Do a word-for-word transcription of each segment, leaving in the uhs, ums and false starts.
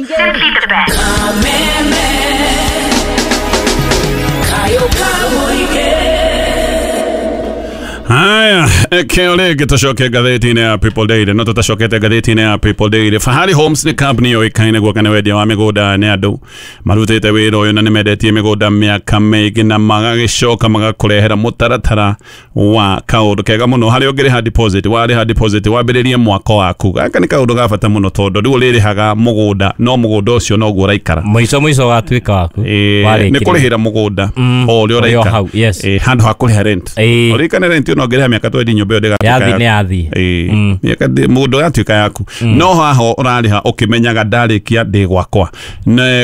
Simply the best. Haya, keo rĩngĩ tũcoke ngathĩti-inĩ ya People Daily. No tũtacokete ngathĩti-inĩ ya People Daily. Fahari Homes nĩ kambuni yũĩkaine guoka nĩ wendia wa mĩgũnda nĩ andũ marutĩte wĩra ũyũ na nĩ mendetie mĩgũnda mĩaka mĩingĩ na magagĩcoka magakũrehera mũtaratara wa kaũndũ kega mũno harĩa ũngĩrĩha deposit, warĩha deposit wambĩrĩrie mwako waku. Gaka nĩ kaũndũ ga bata mũno tondũ rĩu ũrĩrĩhaga mũgũnda no mũgũnda ũcio noguo ũraikara. Mũico mũico watuĩka waku. Nĩ kũrĩhĩra mũgũnda o ũrĩa ũraikara. Handũ ha kũrĩha rent. Ũririkane rent ĩno ũngĩrĩha mĩaka twendi nyũmba ĩyo ndĩgatuĩka yathi nĩ yathi. Mĩaka mũgũnda ũgatuĩka yaku. No haha ũrarĩha ũkĩmenyaga ndarĩkia ndĩ gwakwa.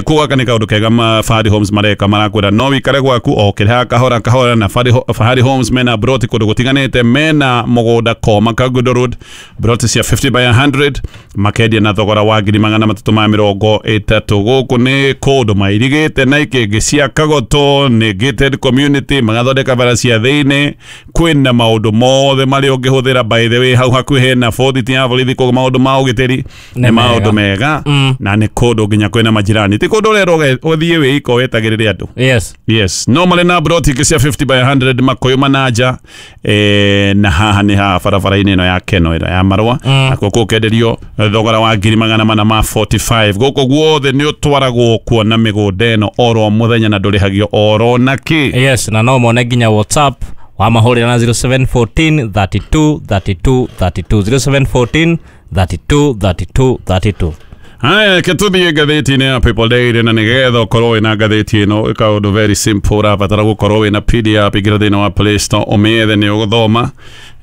Koguo gaka nĩ kaũndũ kega Fahari Homes mareka, marakwĩra no wĩikare gwaku o ũkĩrĩhaga kahora kahora. Na Fahari Homes mena broti kũndũ gũtiganĩte, mena mũgũnda Koma Kagudo Road, broti cia fifty by a hundred makendia na thogora wa ngiri magana matatũ ma mĩrongo ĩtatũ. Gũkũ nĩ kũndũ mairigĩte na ikĩngĩ cia Kagoto, nĩ gated community, magathondeka bara cia thĩinĩ, kwĩna maũndũ mothe marĩa ũngĩhũthĩra. By the way, hau hakuhĩ hena borithi ya borithi, koguo maũndũ ma ũgitĩri nĩ maũndũ mega na nĩ kũndũ nginya kwĩna majirani, ti kũndũ ũrerwo ũthiĩ wĩika wetagĩrĩre andũ. Yes, yes. No marĩ na broti ingĩ cia fifty by a hundred Makũyũ Mananja, eh, na haha nĩ haha barabara-inĩ ĩno ya Keno ĩno ya Marũa, nakuo gũkenderio thogora wa ngiri magana mana ma forty-five. Gũkũ guothe nĩ ũtwaragwo kuona mĩgũnda ĩno oro mũthenya na ndũrĩhagio oro na kĩ. Yes, na no mone nginya WhatsApp wamahũrĩra na zero seven fourteen thirty-two thirty-two thirty-two, zero seven fourteen thirty-two thirty-two thirty-two. Haya, ketuthiĩ ngathĩti-inĩ ya People Daily, na nĩgetha ũkorwo wĩna ngathĩti ĩno kaũndũ very simple, ũrabatara gũkorwo wĩna P D F, ingĩra thĩinĩ wa Play Store ũmĩethe nĩ ũgũthoma.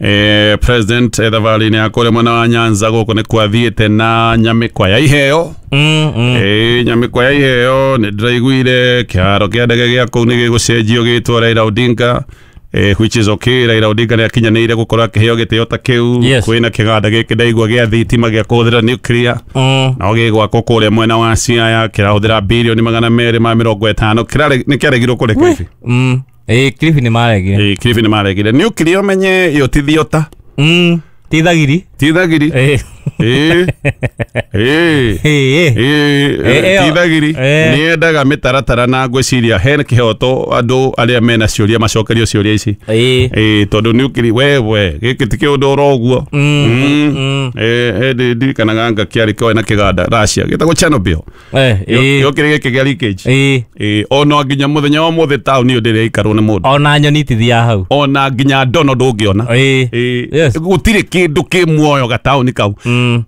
Eh, President thabarĩ-inĩ ya kũrĩa mwena wa Nyanza gũkũ nĩ kwathiĩte na nyamĩkwa ya iheo. Mm, mm. Eh, nyamĩkwa ya iheo nĩ ndĩraiguire kĩharo kĩa ndege gĩa kũu nĩ gĩgũcenjio gĩtwo Raila Odinga. Eh, which is okay. Raila Odinga nĩ akinyanĩire gũkorwo akĩheo gĩtĩo ta kĩu. Yes. Kwĩna kĩganda gĩkĩ ndaigua gĩa thitima gĩa kũhũthĩra nuclear. Mm. No gĩgwakwo kũrĩa mwena wa Siaya kĩrahũthĩra bilioni magana merĩ ma mĩrongo ĩtano. Kĩrare nĩ kĩaregirwo kũrĩa Kilifi. Mm. Eh, Kilifi nĩ maregire. Eh, Kilifi nĩ maregire. Nuclear ũmenye ĩyo ti thiota. Mm. Ti thagiri. Ti thagiri. Eh. Eh. Eh. Eh. Eh, ti thagiri. Nĩ yendaga mĩtaratara na ngwĩciria hena kĩhoto andũ arĩa mena ciũria macokerio ciũria ici. Eh. Eh, tondũ nuclear we we gĩkĩ ti kĩũndũ oro ũguo. Mm. Eh, hĩndĩ ndirikanaga nga kĩarĩ kĩoe na kĩganda Russia gĩtagwo Chernobyl. Eh, eh. Yokĩrĩ gĩkĩ gĩa leakage. Eh. Eh, ona nginya mũthenya wa ũmũthĩ taũni ĩyo ndĩrĩ ĩikarwo nĩ mũndũ. Ona nyoni itithiaga hau. Ona nginya ndono ndũngĩona. Eh. Eh, gũtirĩ kĩndũ kĩ muoyo gataũni kau.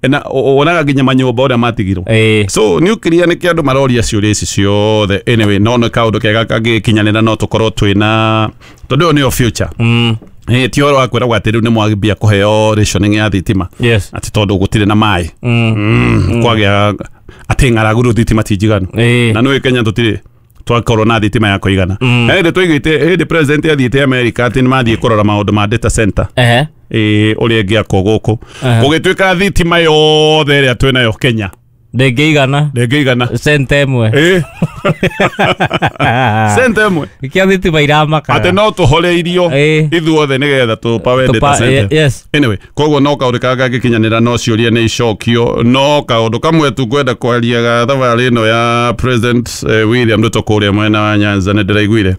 Na wonaga nginya manyũmba ũrĩa matigirwo. So nuclear nĩ kĩ andũ maroria ciũria ici ciothe. Anyway, no nĩ kaũndũ kega kangĩkinyanĩra no tũkorwo twĩna tondũ ĩyo nĩyo future. Mm. Eh, ti ũhoro wa kwĩragwo atĩ rĩu nĩ mwambia kũheo rationing ya thitima. Yes. Atĩ tondũ gũtirĩ na maĩ. Mm. Mm. Kwagĩa atĩ ng'aragu rĩu thitima ti njiganu. Eh. Na nĩũĩ Kenya tũtirĩ twakorwo na thitima ya kũigana. Hĩndĩ twaiguĩte hĩndĩ president athiĩte America atĩ nĩ mathiĩ kũrora maũndũ ma data center. Ehe. Eh, ũrĩa ĩngĩakwo gũkũ. Gũgĩtuĩka thitima yothe ĩrĩa twĩnayo Kenya ndĩngĩigana. Ndĩngĩigana. Cent ĩmwe. Eh. Cent ĩmwe. Nĩkĩo thitima iramaka. Atĩ no tũhoreirio ithuothe nĩgetha tũpawe data center. Yes. Anyway, koguo no kaũndũ karĩa kangĩkinyanĩra no ciũria nĩ icokio, no kaũndũ kamwe tu ngwenda kwaria ga thabarĩ ĩno ya President William Ruto kũrĩa mwena wa Nyanza nĩ ndĩraiguire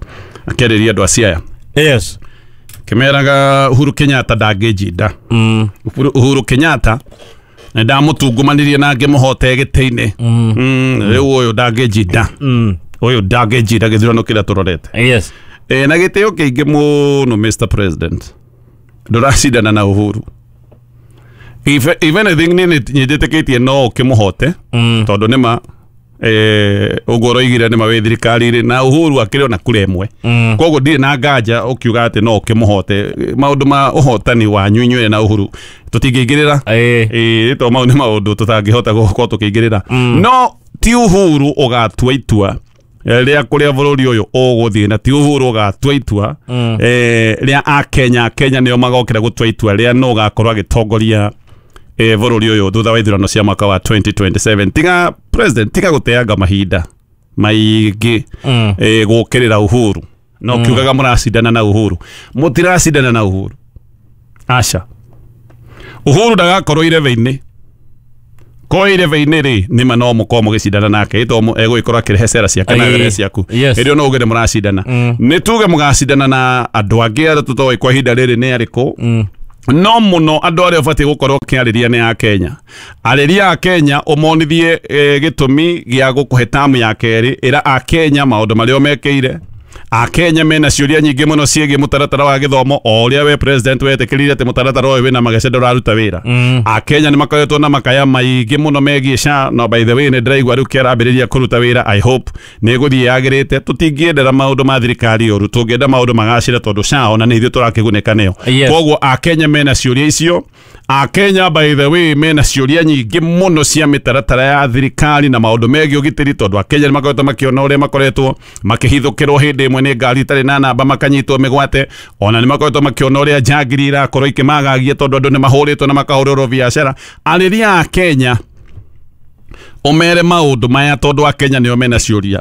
akĩarĩria andũ a Siaya. Yes. Kĩmeraga Uhuru Kenyatta ndangĩnjinda. Mm. Uhuru Kenyatta nĩ ndamũtungumanirie na ngĩmũhote gĩtĩ-inĩ. Mm. Rĩu ũyũ ndangĩnjinda. Mm. Ũyũ ndangĩnjinda gĩthurano kĩrĩa tũrorete. Yes. Eh, na gĩtĩo kĩingĩ mũno Mister President. Ndũracindana na Uhuru. If, if anything nĩ nyĩtĩkĩtie no ũkĩmũhote tondũ nĩma eh ũguo ũroigire nĩma wĩ thirikari-inĩ na Uhuru akĩrĩ ona kura ĩmwe. Koguo ndirĩ na nganja ũkiuga atĩ no ũkĩmũhote. Maũndũ ma ũhotani wanyu inyuĩ na Uhuru tũtingĩingĩrĩra. Eh, to mau nĩ maũndũ tũtangĩhota gũkorwo tũkĩingĩrĩra. No ti Uhuru ũgatua itua rĩa kũrĩa bũrũri ũyũ ũgũthiĩ, na ti Uhuru ũgatua itua eh rĩa Akenya. Kenya nĩo magokĩra gũtua itua rĩa no ũgakorwo agĩtongoria eh bũrũri ũyũ thutha wa ithurano cia mwaka wa twenty twenty-seven. Tiga president, tiga gũteanga mahinda maingĩ eh gũkĩrĩra Uhuru. No kiugaga mũracindana na Uhuru, mũtiracindana na Uhuru. Aca, Uhuru ndagakorwo irebe-inĩ Koire veini rĩ, nĩma no mũkorwo mũgĩcindana nake ĩto egũgĩkorwo akĩrehe cera ciake na Ĩĩ. gere ciaku. Yes. Hĩndĩ ĩyo no uge nĩ mũracindana. Nĩ tuge mũgacindana na andũ angĩ arĩa tũtoĩ kwa ihinda rĩrĩ nĩ arĩkũ, no mũno andũ arĩa ũbatiĩ gũkorwo ũkĩarĩria nĩ a Kenya. Arĩria a Kenya, ũmonithie eh, gĩtũmi gĩa gũkũhe tamu ya kerĩ. Ĩra a Kenya maũndũ marĩa ũmekĩire. A Kenya mena ciũria nyingĩ mũno ciĩgiĩ mũtaratara wa gĩthomo, o ũrĩa we president wetĩkĩrire atĩ mũtaratara ũyũ wĩna magece, ndũraruta wĩra. A Kenya nĩ makoretwo na makaya maingĩ mũno megiĩ SHA. No by the way, nĩ ndĩraigua rĩu kĩarambĩrĩria kũruta wĩra. I hope nĩ ĩgũthiĩ yagĩrĩte. Tũtingĩendera maũndũ ma thirikari ũru, tũngĩenda maũndũ magacĩre, tondũ SHA ona nĩ ithuĩ tũrakĩgunĩka nĩyo. Yes. Koguo a Kenya mena ciũria icio. A Kenya, by the way, mena ciũria nyingĩ mũno cia mĩtaratara ya thirikari na maũndũ megiĩ ũgitĩri, tondũ a Kenya nĩ makoretwo makĩona ũrĩa makoretwo makĩhithũkĩrwo hĩndĩ ĩmwe nĩ ngari itarĩ na namba, makanyitwo mĩgwate. Ona nĩ makoretwo makĩona ũrĩa njangiri irakorwo ikĩmagagia, tondũ andũ nĩ mahũrĩtwo na makahũrĩrwo biacara. Arĩria a Kenya, ũmere maũndũ maya, tondũ a Kenya nĩo mena ciũria.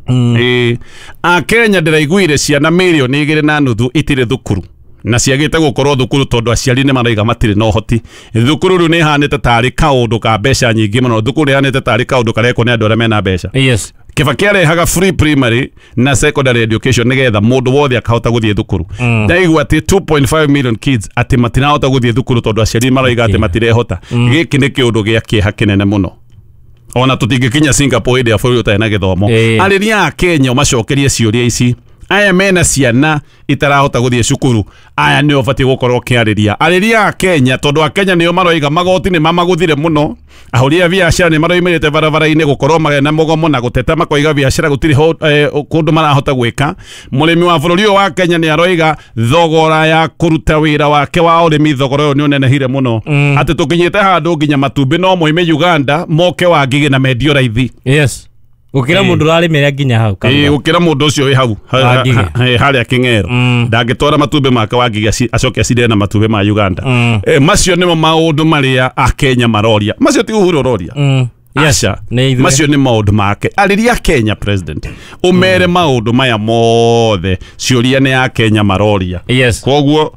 Ĩĩ, a Kenya, ndĩraiguire ciana mirioni igĩrĩ na nuthu itirĩ thukuru na ciagĩte gũkorwo thukuru tondũ aciari nĩ maraiga matirĩ na ũhoti. Thukuru rĩu nĩ ihanĩte tarĩ kaũndũ ka mbeca nyingĩ mũno. Thukuru ĩhanĩte tarĩ kaũndũ karekwo nĩ andũ arĩa mena mbeca. Yes. Kibaki arehaga free primary na secondary education nigetha mũndũ wothe akahota gũthiĩ thukuru. Ndaigua atĩ two point five million kids atĩ matirahota gũthiĩ thukuru tondũ aciari maraiga atĩ matirehota. Gĩkĩ nĩ kĩũndũ gĩa kĩeha kĩnene mũno. Ona tũtingĩkinya Singapore hĩndĩ ya bũrũri ũtarĩ na gĩthomo. Ĩĩ. Arĩria a Kenya, ũmacokerie ciũria ici. Aya mena ciana itarahota gũthiĩ cukuru, aya nĩo ũbatiĩ gũkorwo ũkĩarĩria. Arĩria a Kenya, tondũ a Kenya nĩo maroiga magoti nĩ mamagũthire mũno. Ahũri a biacara nĩ maroimĩrĩte barabara-inĩ gũkorwo magena mũgomo na gũteta, makoiga biacara gũtirĩ ho- eh, kũndũ marahota gwĩka. Mũrĩmi wa bũrũri ũyũ wa Kenya nĩ aroiga thogora ya kũruta wĩra wake wa ũrĩmi, thogora ũyũ nĩ ũnenehire mũno, atĩ tũkinyĩte handũ nginya matumbĩ no moime Uganda moke Wangigĩ na mendio raithi. Yes, gũkĩra Ĩĩ. mũndũ ũrarĩmĩra nginya hau Ĩĩ, Karuga. gũkĩra mũndũ ũcio wĩ hau ha- Wangigĩ. ha- ha- harĩa Kĩng'ero ndangĩtwara matumbĩ make Wangigĩ aci- acoke acindane na matumbĩ ma Uganda. Eh, macio nĩmo maũndũ marĩa akenya maroria. Macio ti Uhuru ũroria. Mm. Yes. Aca. Nĩ ithuĩ. Macio nĩ maũndũ make. Arĩria Kenya, president, ũmere maũndũ maya mothe. Ciũria nĩ akenya maroria. Yes. Koguo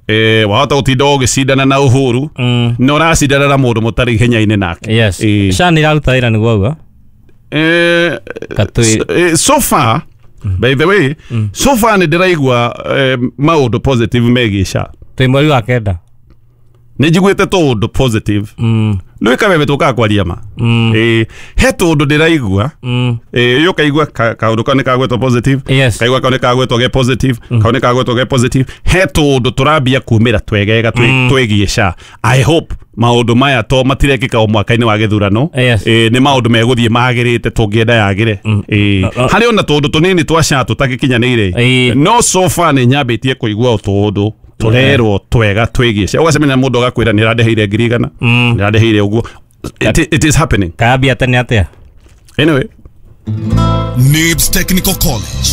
eh, wahota gũtinda ũgĩcindana na Uhuru, Mm. na ũracindana na mũndũ mũtarĩ ihenya-inĩ nake. Yes. Ĩĩ. SHA nĩ ĩraruta wĩra nĩguo auga. Eh, Katui- s- eh, so far, by the way, so far nĩ ndĩraigua eh, maũndũ positive megiĩ SHA. Twĩ mweri wa kenda. Nĩ njiguĩte tũũndũ positive. Mm. Rĩu kabebe tũkaga kwaria ma. Mm. Eh, he tũũndũ ndĩraigua. Mm. Eh, yo kaigua ka- kaũndũ kau nĩ kagwetwo positive. Yes. Kaigua kau nĩ kagwetwo ge positive, kau nĩ kagwetwo ge positive. He tũũndũ tũrambia kumĩra twegega twĩ- twĩgiĩ SHA. I hope maũndũ maya to matirekĩka o mwaka-inĩ wa gĩthurano. Yes. Eh, nĩ maũndũ megũthiĩ magĩrĩte, tũngĩenda yagĩre. Eh, Uh, uh. Harĩ ona tũũndũ tũnini twa SHA tũtagĩkinyanĩire, Ĩĩ. no so far nĩ nyambĩtie kũigua tũũndũ tũrerwo twega twĩgiĩ SHA. Ũgacemania na mũndũ agakwĩra nĩ arandeheire ngiri igana, Mm. nĩ arandeheire ũguo. it, it is happening. Kayambia tene atĩa? Anyway. Nibs Technical College.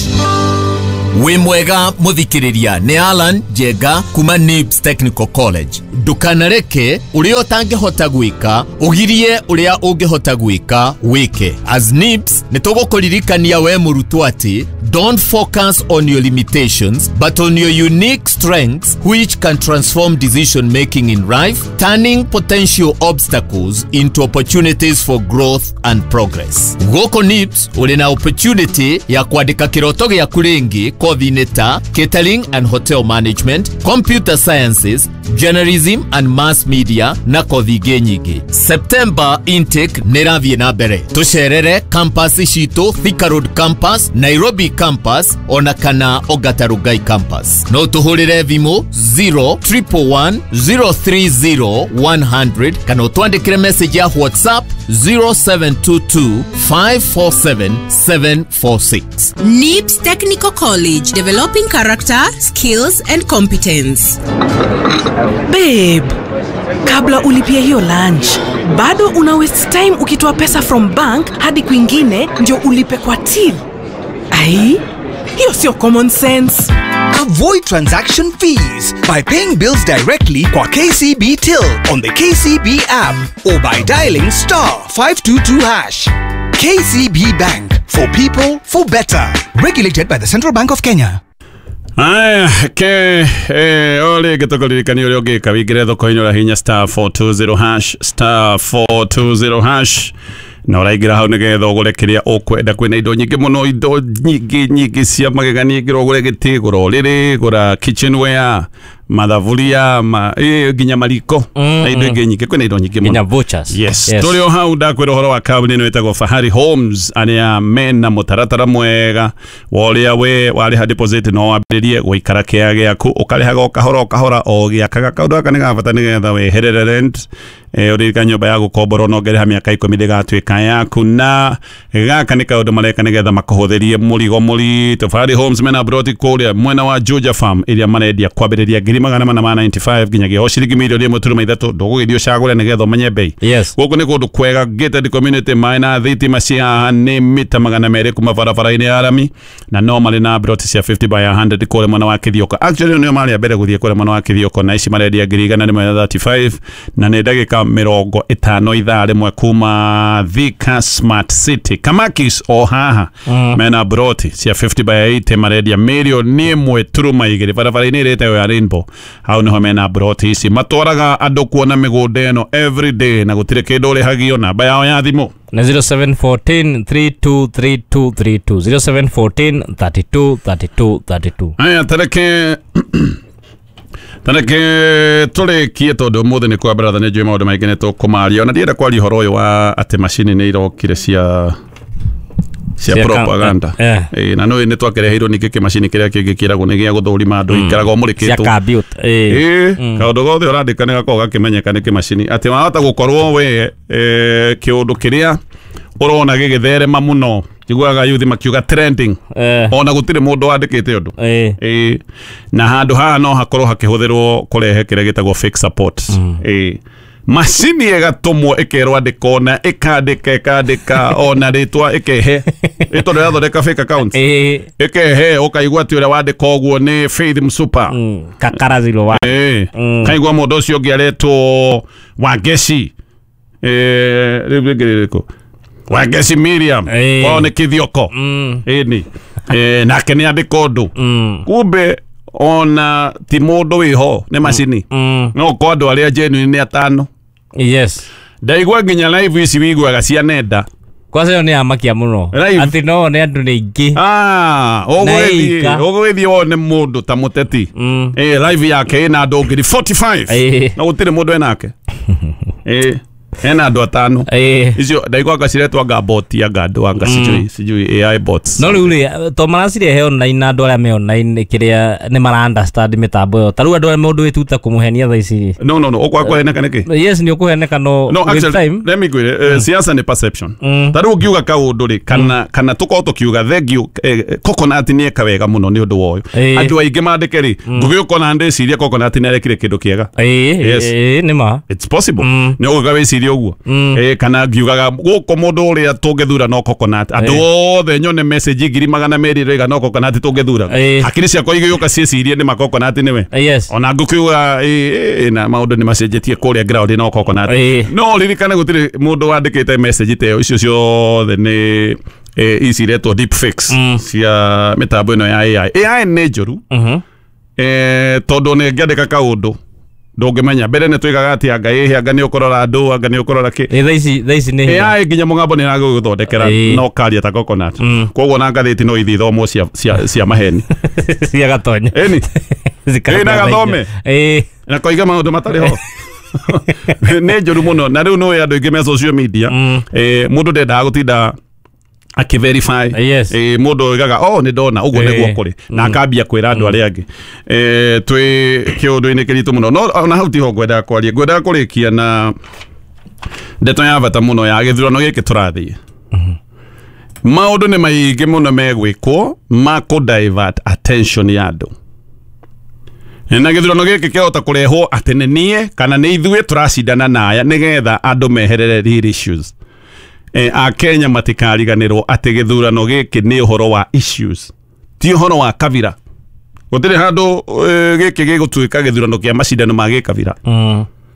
Wĩ mwega mũthikĩrĩria, nĩ Alan Njenga kuma Nibs Technical College. Ndũkanareke ũrĩa ũtangĩhota gwĩka ũgirie ũrĩa ũngĩhota gwĩka wĩke. As Nibs nĩ tũgũkũririkania we mũrutwo atĩ don't focus on your limitations but on your unique strengths, which can transform decision making in life, turning potential obstacles into opportunities for growth and progress. Gũkũ Nibs ũrĩ na opportunity ya kwandĩka kĩroto gĩaku rĩngĩ kothi-inĩ ta catering and hotel management, computer sciences, journalism and mass media na kothi ingĩ nyingĩ. September intake nĩ ĩrathiĩ na mbere. Tũcerere campus citũ, Thika Road campus, Nairobi campus ona kana Ongata Rongai campus. No tũhũrĩre thimũ zero one one one zero three zero one hundred kana ũtwandĩkĩre message ya WhatsApp zero seven two two five four seven seven four six. NIBS Technical College, developing character, skills, and competence. Babe, kabla ulipie hiyo lunch, bado una waste time ukitoa pesa from bank hadi kwingine ndio ulipe kwa till. Ai, hiyo sio common sense. Avoid transaction fees by paying bills directly kwa K C B Till on the K C B app or by dialing star five two two hash. K C B Bank, for people, for better. Regulated by the Central Bank of Kenya. Aya, ke eh ole gĩtũkũririkania ũrĩa ũngĩka wĩingĩre thoko-inĩ ũrahihinya star four two zero hash star four two zero hash na ũraingĩra hau nĩgetha ũgũre kĩrĩa ũkwenda. Kwĩna indo nyingĩ mũno, indo nyingĩ nyingĩ cia magegania. Ingĩra ũgũre gĩtĩ, gũra ũrĩrĩ, gũra kitchenware, mathaburia, ma, eh, nginya mariko na indo ingĩ nyingĩ. Kwĩna indo nyingĩ Nginya mũno. vouchers. Yes. Yes. Tũrĩ o hau ndakwĩra ũhoro wa kambuni ĩno ĩtagwo Fahari Homes, arĩa mena mũtaratara mwega wa ũrĩa we warĩha deposit no wambĩrĩrie gũikara kĩaya gĩaku, ũkarĩhaga o kahora o kahora o gĩakaga. Kaũndũ gaka nĩ ga bata nĩgetha weherere rent. Eh, ũririkane nyũmba ya gũkomborwo no ũngĩrĩha mĩaka ikũmi ndĩgatuĩka yaku, na gaka nĩ kaũndũ mareka nĩgetha makũhũthĩrie mũrigo mũritũ. Fahari Homes mena broti kũrĩa mwena wa Juja Farm ĩrĩa marendia kwambĩrĩria ngiri magana mana ma ninety five nginyagia o ciringi mirioni ĩmwe turuma ithatũ. Ndũgũgĩthiĩ ũcagũre nĩgetha ũmenye bei. Yes. Gũkũ nĩ kũndũ kwega, gated community, maĩ na thitima cia haha nĩ mita magana merĩ kuma barabara-inĩ ya rami, na no marĩ na broti cia fifty by a hundred kũrĩa mwena wa Kithioko. Actually nĩo marĩ a mbere gũthiĩ kũrĩa mwena wa Kithioko, na ici marendia ngiri igana rĩmwe na thirty five, na nĩ ndagĩka mĩrongo ĩtano ithaa rĩmwe kuma Thika Smart City. Kamakis o haha mena broti cia fifty by eighty marendia mirioni ĩmwe turuma igĩrĩ barabara-inĩ ĩrĩa ĩtagwo ya Rainbow. Hau nĩho mena broti ici, matwaraga andũ kuona mĩgũnda ĩno every day na gũtirĩ kĩndũ ũrĩhagio. Namba yao ya thimũ na zero seven fourteen three two three two three two, zero seven fourteen thirty two thirty two thirty two. Aya, tareke tareke tũrĩkie tondũ ũmũthĩ nĩ kwa brother, nĩ njũĩ maũndũ maingĩ nĩ tũkũmaria. Ona ndienda kwaria ũhoro ũyũ wa atĩ macini nĩ irokire cia cia Cia ka- propaganda. eh. Ĩĩ, na nĩ nĩ twakĩreheirwo ningĩ kĩmacini kĩrĩa kĩngĩ kĩragwo nĩ gĩa gũthũrima andũ, ikaraga ũmũrĩkĩtwo cia kambiuta. Ĩĩ, kaũndũ gothe ũrandĩka nĩ gakoragwo gakĩmenyeka nĩ kĩmacini, atĩ wahota gũkorwo we eh, kĩũndũ kĩrĩa ũrona gĩgĩtherema mũno, njiguaga yuthi makiuga trending, Eh. ona gũtirĩ mũndũ wandĩkĩte ũndũ. Ĩĩ. Ĩĩ, na handũ haha no hakorwo hakĩhũthĩrwo kũrehe kĩrĩa gĩtagwo fake support. Ĩĩ, macini ĩgatũmwo ĩkerwo andĩka, ona ĩkandĩka ĩkandĩka ona rĩtwa ĩkehe, ĩ tondũ ĩrathondeka fake account, Ĩĩ. ĩkehe ũkaigua atĩ ũrĩa wandĩka ũguo nĩ Faith Msupa. Kakara zero one. Ĩĩ, kaigua mũndũ ũcio ũngĩ aretwo Wangeci, ĩĩ, rĩu rĩngĩ rĩrĩkũ, Wangeci Miriam Ĩĩ. kwao nĩ Kithioko. Ĩni nake nĩ andĩka ũndũ, kumbe ona ti mũndũ wĩho, nĩ macini. No ko andũ arĩa genuine nĩ atano. Yes. Ndaigua nginya live ici wiguaga cia nenda. Kwanza ĩyo nĩ yamakia mũno. Live. Atĩ no one andũ nĩ aingĩ. Ah, ũgũgĩthiĩ Na ĩika. ũgũgĩthiĩ wone mũndũ ta mũteti. Ĩĩ, live yake ĩna andũ ngiri forty five. Ĩĩ. Na gũtirĩ mũndũ enake. Ĩĩ, ena andũ atano. Ĩĩ. Icio ndaigua anga ciretwo anga bot anga andũ anga sijui sijui A I bots. No rĩu rĩ, to maracirehe online na andũ arĩa me online kĩrĩa nĩ mara understand mĩtambo ĩyo. Ta rĩu andũ arĩa mũndũ wĩtuta kũmũhenia thaa ici rĩ. No no no, ũkwaga kũheneka nĩkĩ? Yes, nĩ ũkũheneka no No, with actually, time. let me ngwĩre, eh, siasa nĩ perception. Ta rĩu ũngiuga kaũndũ rĩ, kana kana tũkorwo tũkiuga thank you, eh, Coconut nĩ eka wega mũno nĩ ũndũ wa ũyũ. Ĩĩ. Andũ aingĩ mandĩke rĩ, ngũgĩũka ona ndĩcirie Coconut nĩ arekire kĩndũ kĩega. Ĩĩ, Yes. ĩĩ, nĩ ma. It's possible. Nĩ ũgũka wĩcirie ũguo. Eh, kana ngiugaga gũkũ mũndũ ũrĩa tũngĩthura no Coconut. Andũ othe nyone message ngiri magana merĩ rĩga no Coconut tũngĩthura. Ĩĩ. Hakiri ciakwa igĩũka ciĩcirie nĩ ma Coconut nĩwe. Yes. Ona ngũkiuga ĩ na maũndũ nĩ macenjetie kũrĩa ground no Coconut. Ĩĩ. No ririkane gũtirĩ mũndũ wandĩkĩte message ta ĩyo, icio ciothe nĩ eh, ici iretwo deep fakes cia mĩtambo ĩno ya A I. A I nĩ njũru. Eh, tondũ nĩ ngĩandĩka kaũndũ ndũngĩmenya. Mbere nĩ twigaga atĩ anga ĩhĩ, anga nĩ ũkũrora andũ, anga nĩ ũkũrora kĩ. Ĩĩ, thaa ici thaa ici nĩ hinya. A I nginya mũgambo nĩ ĩragũgũthondekera Ĩĩ. no karia ta Coconut. Koguo na ngathĩti no ithiĩ ithomwo cia cia cia maheni. Cia gatonya. Ĩni. Zikaga Ĩĩ, na gathome. Ĩĩ. Na koiga maũndũ matarĩ ho. Nĩ njũru mũno. Na rĩu nĩũĩ andũ aingĩ me social media, eh, mũndũ ndendaga gũtinda akĩverify. Yes. Eh, mũndũ oigaga oh nĩ ndona ũguo Eh. nĩguo kũrĩ, na akambia kwĩra andũ arĩa angĩ. Eh, twĩ kĩũndũ-inĩ kĩritũ mũno, no ona hau tiho ngwendaga kwaria. Ngwendaga kũrĩkia na ndeto ya bata mũno ya gĩthurano gĩkĩ tũrathiĩ. Maũndũ nĩ maingĩ mũno megwĩkwo ma kũ divert attention ya andũ, na gĩthurano gĩkĩ kĩahota kũrehwo atĩ nĩ niĩ kana nĩ ithuĩ tũracindana na aya nĩgetha andũ meherere real issues. Eh, Akenya matikariganĩrwo atĩ gĩthurano gĩkĩ nĩ ũhoro wa issues, ti ũhoro wa kabira. Gũtirĩ handũ eh, gĩkĩ gĩgũtuĩka gĩthurano kĩa macindano ma gĩkabira.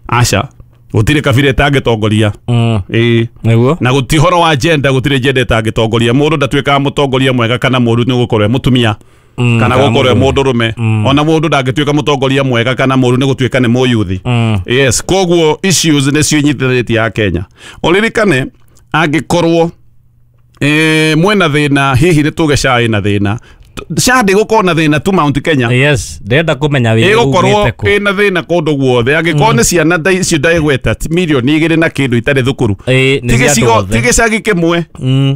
Aca, gũtirĩ kabira ĩtangĩtongoria. Ĩĩ. Nĩguo. Na gũti ũhoro wa gender, gũtirĩ gender ĩtangĩtongoria. Mũndũ ndatuĩkaga mũtongoria mwega kana mũũru nĩ gũkorwo e mũtumia. mm, kana gukorwo mundu rume mm. ona mundu ndangituika mutongoria mwega kana muru ni gutuika ni muyuthi mm. Yes, koguo issues ni cio nyitithanitie ya Kenya. Uririkane angikorwo eh mwena thina hihi ni tuge cai na thina S H A ndĩgũkorwo na thĩna tu Mount Kenya. Yes, ndĩrenda kũmenya wĩra ĩgũkorwo ĩna thĩna kũndũ guothe. Angĩkorwo nĩ ciana icio ndaigweta mirioni igĩrĩ na kĩndũ itarĩ thukuru, ti gĩcagi kĩmwe,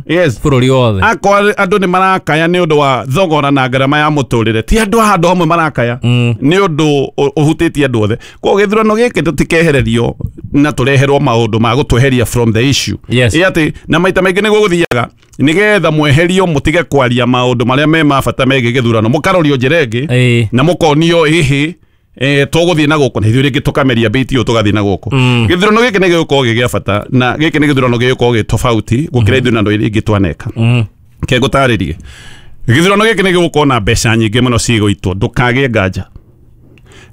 yes, bũrũri wothe. Akorwo andũ nĩ marakaya nĩ ũndũ wa thogora na ngarama ya mũtũrĩre, ti andũ a handũ hamwe marakaya, nĩ ũndũ ũhutĩtie andũ othe. Koguo gĩthurano gĩkĩ tũtikehererio na tũreherwo maũndũ ma gũtweheria from the issue. Ĩ atĩ na maita maingĩ nĩguo gũthiaga, nĩgetha mweherio mũtige kwaria maũndũ marĩa me ma bata megiĩ gĩthurano, mũkarorio njĩra ĩngĩ na mũkonio ĩhĩ eh tũgũthiĩ na gũkũ na ithuĩ rĩngĩ tũkameria bĩti ũyũ tũgathiĩ na gũkũ. Gĩthurano gĩkĩ nĩ gĩgũkorwo gĩ gĩa bata na gĩkĩ nĩ gĩthurano gĩgũkorwo gĩ tofauti gũkĩra ithurano iria ingĩ twaneka. Ke ngũtarĩrie, gĩthurano gĩkĩ nĩ gĩgũkorwo na mbeca nyingĩ mũno cigũitwo, ndũkagĩe nganja.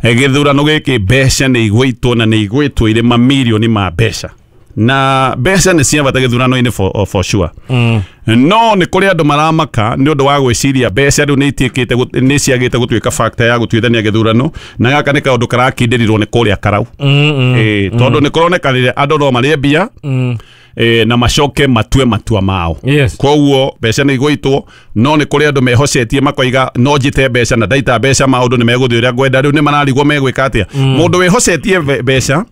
Gĩthurano gĩkĩ mbeca nĩ igũitwo na nĩ igũitwo irĩ mamirioni ma mbeca, na mbeca nĩ cia bata gĩthurano-inĩ for, for sure. Mm. No nĩ kũrĩ andũ maramaka nĩ ũndũ wa gwĩciria mbeca rĩu nĩ itiĩkĩte nĩ ciagĩte gũtuĩka factor ya gũtuithania gĩthurano, na gaka nĩ kaũndũ karakindĩrirwo nĩ kũrĩa karau. Mm, mm, eh, tondũ nĩ kũronekanire andũ no marĩe mbia mm. eh, na macoke matue matua mao. Yes. Koguo mbeca nĩ igũitwo, no nĩ kũrĩ andũ mehocetie makoiga no njite mbeca na ndaita mbeca maũndũ nĩ megũthiĩ ũrĩa ngwenda. Rĩu nĩ mararigwo megwĩka atĩa. Mm. Mũndũ wĩhocetie mbeca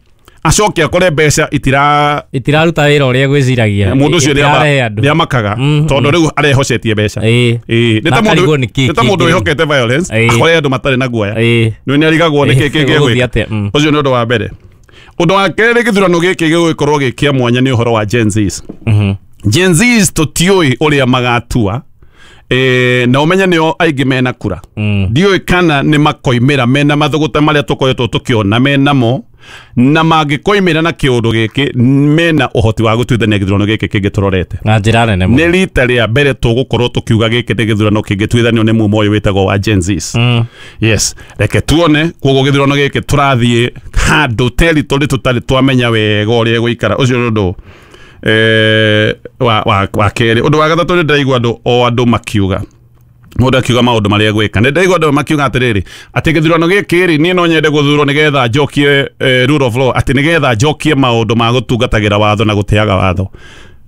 acoke akore mbeca itira itiraruta wĩra ũrĩa gwĩciragia, mũndũ ũcio nĩ amakaga tondũ rĩu arehocetie mbeca. Ĩĩ, nĩ ta mũndũ nĩ ta mũndũ wĩhokete violence akore andũ matarĩ na guoya, nĩ nĩ arigagwo nĩ kĩĩ kĩngĩ egwĩka. Ũcio nĩ ũndũ wa mbere. Ũndũ wa kerĩ, gĩthurano gĩkĩ gĩgũkorwo gĩ kĩa mwanya nĩ ũhoro wa Gen Zs. Gen Zs tũtiũĩ ũrĩa magatua, eh na umenye nĩo aingĩ mena kura. Ndiũĩ kana nĩ makoimĩra mena mathũgũta marĩa tũkoretwo tũkĩona menamo, na mangĩkoimĩra na kĩũndũ gĩkĩ mena ũhoti wa gũtuithania gĩthurano gĩkĩ kĩngĩ tũrorete na njĩra nene mũno. Nĩ rita rĩa mbere tũgũkorwo tũkiuga gĩkĩ nĩ gĩthurano kĩngĩtuithanio nĩ mumo ũyũ wĩtagwo wa Gen Zs. Mm. Yes, reke tuone. Koguo gĩthurano gĩkĩ tũrathiĩ handũ territory tũtarĩ twamenya wega ũrĩa ĩgũikara. Ũcio nĩ ũndũ eh wa wa wa kerĩ. Ũndũ wa gatatũ, nĩ ndĩraigua andũ o andũ makiuga, mũndũ akiuga maũndũ marĩa egwĩka. Nĩ ndaigua andũ makiuga atĩrĩrĩ, atĩ gĩthurano gĩkĩ rĩ, niĩ no nyende gũthurwo nĩgetha njokie rule of law, atĩ nĩgetha njokie maũndũ ma gũtungatagĩra watho na gũtĩaga watho.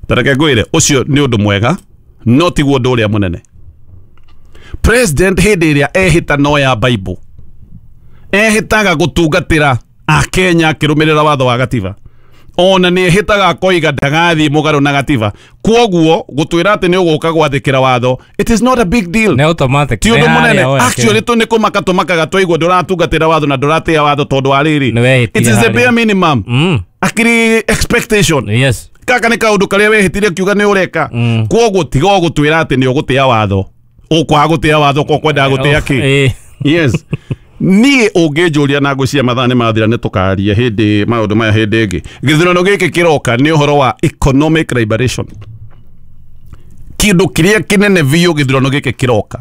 Ta reke ngwĩre, ũcio nĩ ũndũ mwega, no tiguo ũndũ ũrĩa mũnene. President hĩndĩ ĩrĩa ehĩta no ya Bible, ehĩtaga gũtungatĩra Akenya akĩrũmĩrĩra watho wa gatiba, ona nĩ ehĩtaga akoiga ndagathiĩ mũgarũ na gatiba. Koguo gũtwĩra atĩ nĩ ũgũka gwathĩkĩra watho, it is not a big deal, nĩ automatic, ti ũndũ mũnene. Actually tu nĩ kũmaka tũmakaga twaigua ndũratungatĩra watho na ndũratĩa watho tondũ wa rĩrĩ, it is the bare minimum. Mm. Akiri expectation. Yes. Kaka nĩ kaũndũ karĩa wehĩtire ũkiuga nĩ ũreka. Mm. Koguo tiga ũgũtwĩra atĩ nĩ ũgũtĩa watho, ũkwaga gũtĩa watho ko kwendaga gũtĩa kĩ. Yes. Niĩ ũngĩnjũria na ngwĩciria mathaa nĩ mathira, nĩ tũkaria hĩndĩ maũndũ maya hĩndĩ ĩngĩ. Gĩthurano gĩkĩ kĩroka nĩ ũhoro wa economic liberation. Kĩndũ kĩrĩa kĩnene biũ gĩthurano gĩkĩ kĩroka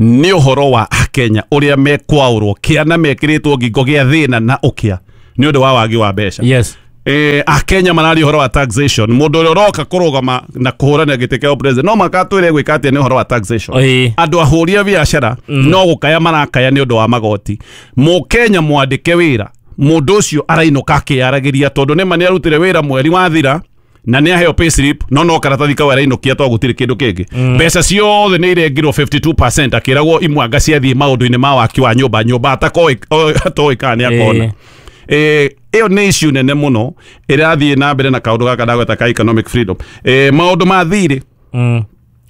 nĩ ũhoro wa Akenya ũrĩa mekwaũrwo kĩana mekĩrĩtwo ngingo gĩa thĩna na ũkĩa nĩ ũndũ wa wagi wa mbeca. Yes. Eh, Akenya mararia ũhoro wa taxation. Mũndũ ũrĩa ũroka kũrũgama na kũhũrana gĩtĩ kĩa president no makatwĩre gwĩka atĩa nĩ ũhoro wa taxation. Andũ ahũri a biacara no gũkaya marakaya nĩ ũndũ wa magoti. Mũkenya mwandĩke wĩra, mũndũ ũcio arainũka akĩyaragĩria tondũ nĩma nĩ arutire wĩra mweri wathira na nĩ aheo payslip, no no karatathi kau arainũkia tondũ gũtirĩ kĩndũ kĩngĩ. Mbeca ciothe nĩ irengirwo fifty two percent, akĩragwo imwe anga ciathiĩ maũndũ-inĩ ma waki wa nyũmba, nyũmba atakoĩ kana nĩ akona. Eh, ĩyo nĩ issue nene mũno ĩrathiĩ na mbere na kaũndũ gaka ndagweta ka economic freedom. Eh, maũndũ ma thirĩ mm.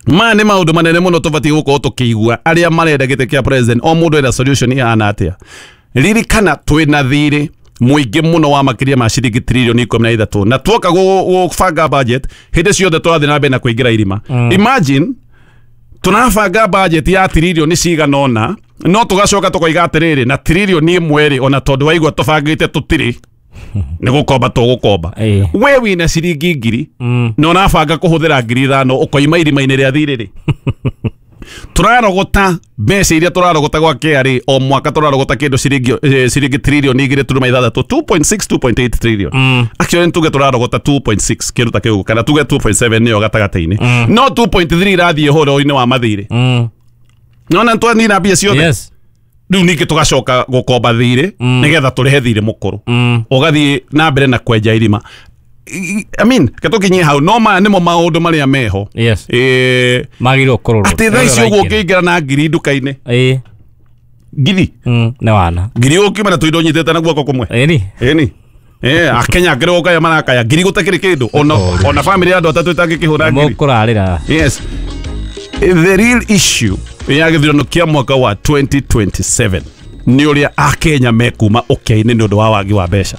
maya nĩ maũndũ manene mũno tũbatiĩ gũkorwo tũkĩigua arĩa marenda gĩtĩ kĩa president, o mũndũ ena solution ihana atĩa. Ririkana twĩna thirĩ mũingĩ mũno wa makĩria ma ciringi trilioni ikũmi na ithatũ, na tuoka gũbanga budget hĩndĩ ciothe tũrathiĩ na mbere na kũingĩra irima. Mm. Imagine tunabanga budget ya trilioni cigana ũna, no tũgacoka tũkoiga atĩrĩrĩ, na trilioni ĩmwe rĩ, ona tondũ waigua tũbangĩte tũtirĩ nĩ gũkomba tũgũkomba. We wĩna ciringi ngiri na ũrabanga kũhũthĩra ngiri ithano, ũkoima irima-inĩ rĩa thirĩ rĩ. Tũrarogota mbeca iria tũrarogota gwa K R A o mwaka, tũrarogota kĩndũ ciringi ciringi trilioni igĩrĩ turuma ithathatũ, two point six, two point eight trillion. Mm. Actually tuge tũrarogota two point six kĩndũ ta kĩu, kana tuge two point seven nĩyo gatagatĩ-inĩ. Mm. No two point three irathiĩ ũhoro-inĩ wa mathirĩ. Mm. Nona twanina mbia ciothe. Yes. Rĩu ningĩ tũgacoka gũkomba thirĩ nĩgetha tũrĩhe thirĩ mũkũrũ, ũgathiĩ na mbere na kwenja irima. I I mean, ketũkinyie hau no maya nĩmo maũndũ marĩa meho. Yes. Eh, Magĩrĩirwo kũrorwo. Atĩ thaa ici ũguo ũngĩingĩra na ngiri nduka-inĩ, Ĩĩ. ngiri Mm, nĩ wana. ngiri ũkiuma na tũindo nyitĩte na guoko kũmwe. Ĩni. Ĩni. Eh, akenya angĩ gũkaya marakaya ngiri gũtakĩrĩ kĩndũ, ona ona famĩlĩ ya andũ atatũ ĩtangĩkĩhũra ngiri. Mũkũrarĩra. Yes, the real issue ya gĩthurano kĩa mwaka wa twenty twenty-seven nĩ ũrĩa akenya mekuma ũkĩa-inĩ nĩ ũndũ wa wagi wa mbeca.